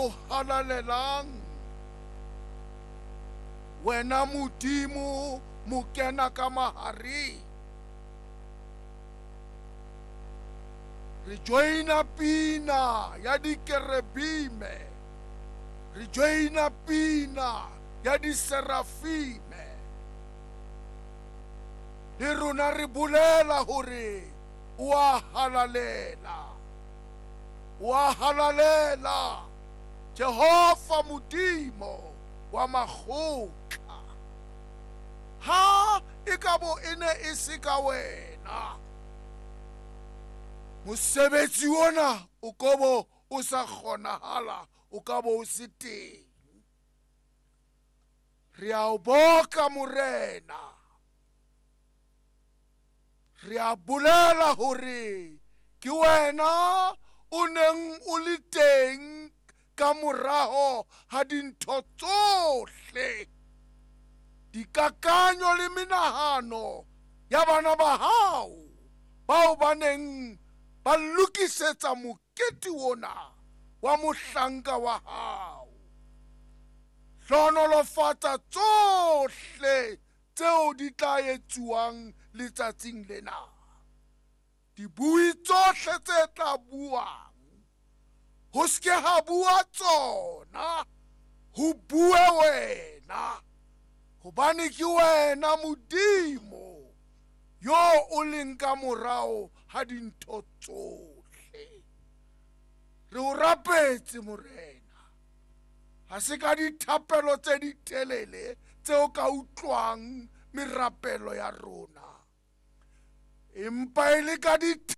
o halalelang, wena Modimo mokena ka mahareng. Re joina pina ya dikerebime, re joina pina ya diserafime. Le rona re bolela hore o a halalela, o a halalela, Jehova Modimo wa makgotla. Ha e ka bo e ne e se ka wena, mosebetsi ona o kobo o sa kgonahala, o ka bo o se teng. Re a o boka Morena, re a bolela hore ke wena o neng o le teng ka moraho ha dintho tsohle, dikakanyo le menahano ya bana ba hao bao ba neng ba lokisetsa mokete ona wa mohlanka wa hao. Hlohonolofatsa tsohle tseo di tla etsuwang letsatsing lena. Dibui tsohle tse tla buang, ho se ke ha bua tsona, ho bue wena, hobane ke wena Modimo yo o leng ka morao ha dintho tsohle. Re o rapetse Morena, ha se ka dithapelo tse ditelele tseo ka utlwang merapelo ya rona, empa e le ka dithapelo.